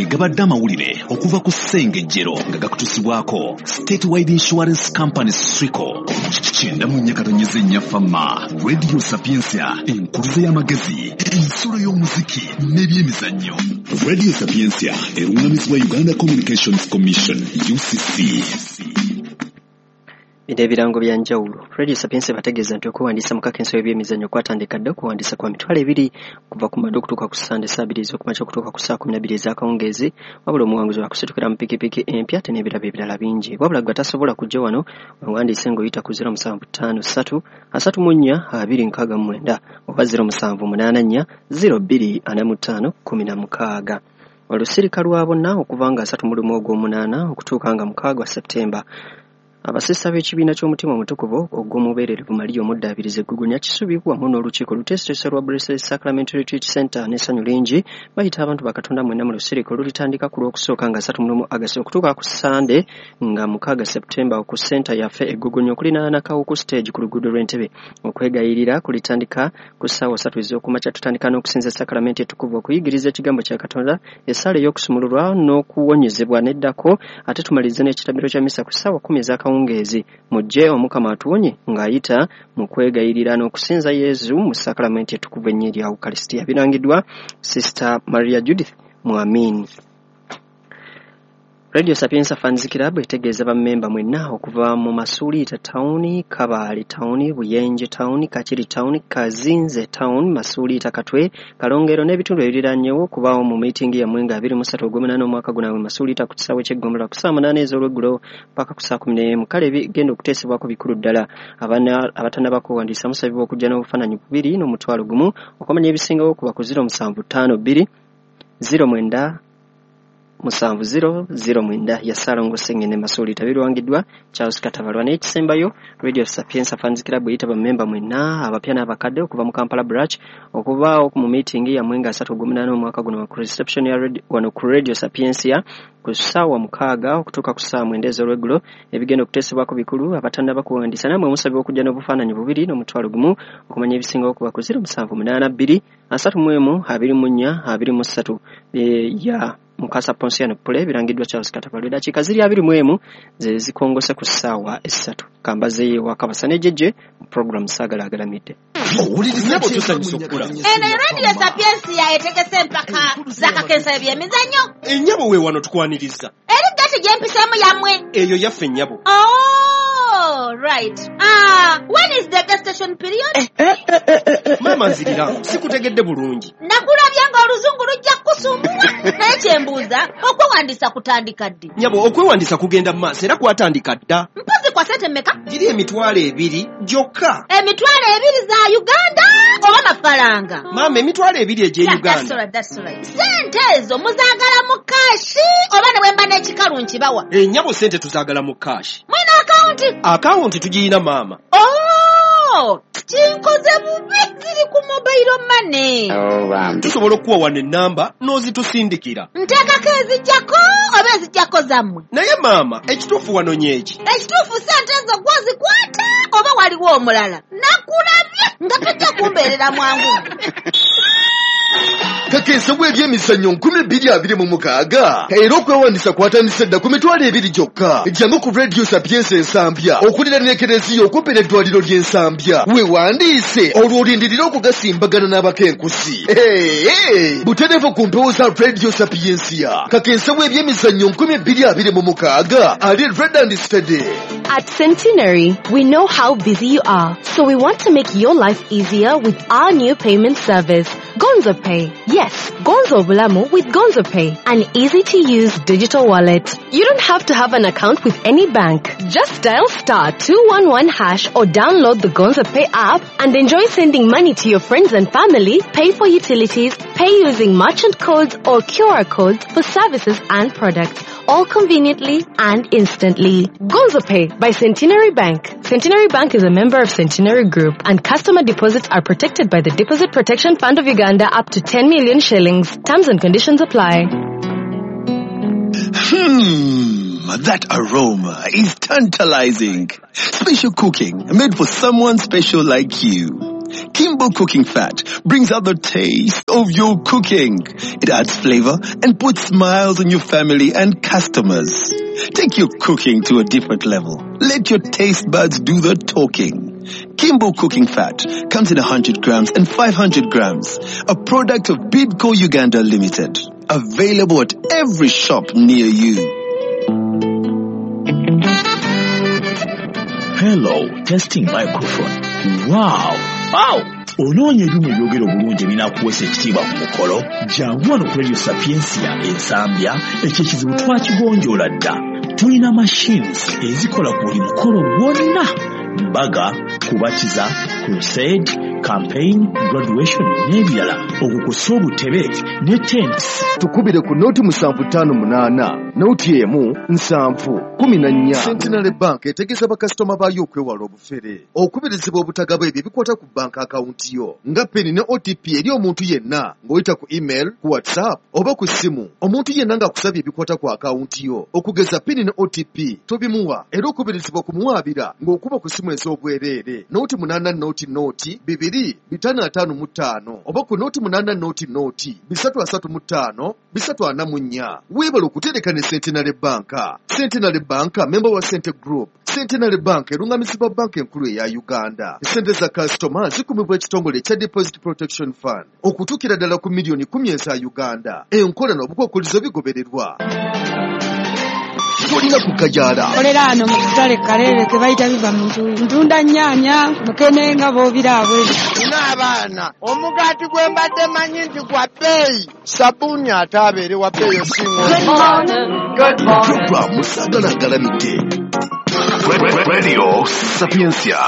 Ge gabadde amawulire okuva ku Ssengejjero nga gakutusibwako Statewide Insurance Company Swico. 94.4 Fama, Radio Sapientia, enkuluze y'amagezi, ensulo y'omuziki n'ebyemizannyo. Radio Sapientia erungamizibwa Uganda Communications Commission UCC. Bino ebirango bya njawulo. Radio Sapientia bategeeza nti okwewandiisa mu kakensa w'ebyemizannyo kwatandika dda. Okuwandiisa kwa 20,000 okuva ku Mande okutuuka ku Sande saa 2 ez'okumakya okutuuka ku saa 12 ez'akawungeezi. Wabula omuwanguzi wakusitukira mu pikipiki empya ate n'ebirabo ebirala bingi. Wabula gwe atasobola kujja wano, wewandiise ng'oyita ku 0753 34 269 oba 0784 02 45 16. Olusirika lwa bonna okuva nga 31 ogw'omunaana okutuuka nga 6 Septemba. Abasista b'ekibiina ky'omutima omutukuvu ogw'omubeererevu Maria Omuddaabirizi Eggugunya Kisubi wamu n'olukiiko oluteeseteese lwa Blessed Sacrament Retreat Center n'essanyu lingi bayita abantu ba Katonda mwenna mu lusirika olulitandika ku Lwokusooka nga 31 August okutuuka ku Ssande nga 6 September ku ssenta yaffe Eggugunya okulinaana Kawuku stage ku luguudo lw'Entebe. Okwegayirira kulitandika ku ssaawa 3 ez'okumakya. Tutandika n'okusinza Sacrament etukuvu, okuyigiriza ekigambo kya Katonda, essaala ey'okusumululwa n'okuwonyezebwa n'eddako, ate tumalirize n'ekitambiro kya misa ku ssaawa 10 ez'akawungeezi. Mujje Omukama atuwonye ng'ayita mu kwegayirira n'okusinza Yezu mu Sacrament etukuvu ennyo erya Ukaristia. Birangiddwa Sister Maria Judith Mwamini. Radio Sapientia Fans Club etegeeza bammemba mwenna okuva mu Masuliita Town, Kabaale Town, Buyenje Town, Kakiri Town, Kazinze Town, Masuliita Katwe, Kalongero n'ebitundu ebiriranyewo okubaawo mu miitingi yammwe nga 23 ogw'omunaana omwaka guno mu Masuliita ku kisaawe ky'eggombolola ku ssaawa 8 ez'olweggulo paka ku ssaawa 11. Kale ebigenda okuteesebwako bikulu ddala. Abatannaba kwewandiisa musabibwa okujja n'obufaananyi bubiri n'omutwalo gumu. Okumanya ebisingawo kuba ku 0752 09 70 09 ya Ssalongo Ssengene Masuliita. Birwangiddwa Charles Katabalwa. N'ekisembayo, Radio Sapientia Fans Club eyita bammemba mwenna abapya n'abakadde okuva mu Kampala branch okubaawo mu miitingi yammwe nga 3 ogw'omunaana omwaka guno ku reception ya wano ku Radio Sapientia ku ssaawa 6 okutuuka ku ssaawa 9 ez'olweggulo. Ebigenda okuteesebwako bikulu. Abatannaba kuwandiisa nammwe musabibwa okujja n'obufaananyi bubiri n'omutwalo gumu. Okumanya ebisingawo kuba ku 0782 31 24 23 ya Mukasa Ponsiano Pule. Birangiddwa Charles Katabalwa. Eddakiika ziri 21 ze zikongose ku ssaawa 3. Kambazeeyo ewaka ne jjejje mu program Saagala Agalamidde. Nnyabo, tusanyusa okukulaba. Eno Radio Sapientia etegese empaka z'akakensa ebyemizannyo. Ennyabo, we wano tukwaniriza. Eri gati gyempiseemu yammwe? Eyo yaffe, nnyabo. Oh, right. Ah, when is the gestation period? Maama, nzirira, sikutegedde bulungi. Nakulabye ng'oluzungu lujja kukusumbuwa, naye kyembuuza, okwewandiisa kutandika ddi? Nnyabo, okwewandiisa kugenda mu maaso era kwatandika dda. Mpozi kwa sente mmeka? Giri 20,000 gyokka. 20,000 za Uganda oba mafaranga? Maama, 20,000 egy'e Yeah, that's Uganda. all right, that's all right. Sente ezo muzaagala mu cash oba ne bwe mba n'ekikalu nkibawa? Ennyabo, sente tuzaagala mu cash. Mwina akawunti? Akawunti tugiyina, maama. Oh, kinkoze bubi, ziri ku mobile money. Tusobola okuwa wano ennamba n'ozitusindikira. Nteekako ezijjako oba ezijjako zammwe? Naye maama, ekituufu wano nyeeki? Ekituufu, sente ezo gwozikwata oba waliwo omulala? Nakulabye nga tojja kumbeerera mwangu. Kakensa bw'ebyemizannyo 2026 era okwewandiisa kwatandise dda ku 20,000 gyokka. Jangu ku Radio Sapientia Ensambya okuliraana ekereziya okumpi n'eddwaliro ly'Ensambya, weewandiise olwo olindirire okugasimbagana n'abakenkusi. Hey, butereevu ku mpewo za Radio Sapientia. Kakensa bw'ebyemizannyo 2026 ali ready and steady. At Centenary, we know how busy you are, so we want to make your life easier with our new payment service, Gonzo Pay. Yes, Gonzo Bulamu with Gonzo Pay, an easy to use digital wallet. You don't have to have an account with any bank. Just dial *211# or download the Gonzo Pay app and enjoy sending money to your friends and family, pay for utilities, pay using merchant codes or QR codes for services and products, all conveniently and instantly. Gonzo Pay by Centenary Bank. Centenary Bank is a member of Centenary Group and customer deposits are protected by the Deposit Protection Fund of Uganda up to 10 million shillings. Terms and conditions apply. That aroma is tantalizing. Special cooking made for someone special like you. Kimbo Cooking Fat brings out the taste of your cooking. It adds flavor and puts smiles on your family and customers. Take your cooking to a different level. Let your taste buds do the talking. Kimbo Cooking Fat comes in 100 grams and 500 grams. A product of Bidco Uganda Limited. Available at every shop near you. Hello, testing microphone. Wow! Wow! Onoonya ebyuma ebyogera obulungi ebinaakuweesa ekitiibwa ku mukolo? Jangu wano ku Radio Sapientia Ensambya, ekyo ekizibu twakigonjoola dda. Tulina machines ezikola ku buli mukolo gwonna. Mbaga, kubatiza, crusade, campaign, graduation n'ebirala. Okukusa obutebe ne tents. Tukubire ku noti 758 noti 1 7 14. Centenary Bank etegeeza bakasitoma baayo okwewala obufere, okubirizibwa obutagaba ebyo ebikwata ku banka akawunti yo nga PIN ne OTP eri omuntu yenna ng'oyita ku email, ku WhatsApp oba ku ssimu. Omuntu yenna ng'akusabye ebikwata ku akawunti yo okugeza PIN ne OTP tobimuwa, era okubirizibwa okumuwaabira ng'okuba ku ssimu ez'obwereere noti 8 noti noti 2 555 oba ku noti 8 noti noti 3 35 344. Weebale okutereka ne Centenary Bank. Centenary Bank member wa Cente Group. Centenary Bank erungamizibwa banka enkulu eya Uganda. Sente za kasitoma zikumibwa ekitongole ekya Deposit Protection Fund okutuukira ddala ku miliyoni 10 eza Uganda. Enkola n'obukwakkulizo bigobererwa. Tolina kukajala. Kolera ano mu katale Kaleere ke bayita biva mu ntuuyo. Ntunda nnyaanya, mukene nga bw'obiraabwe. Nina abaana, omugaati gwe mbadde manyi nti gwa bbeeyi, sabbuuni ate abeere wa bbeeyi osinga. Programu Sagala Galamidde. Radio Sapientia.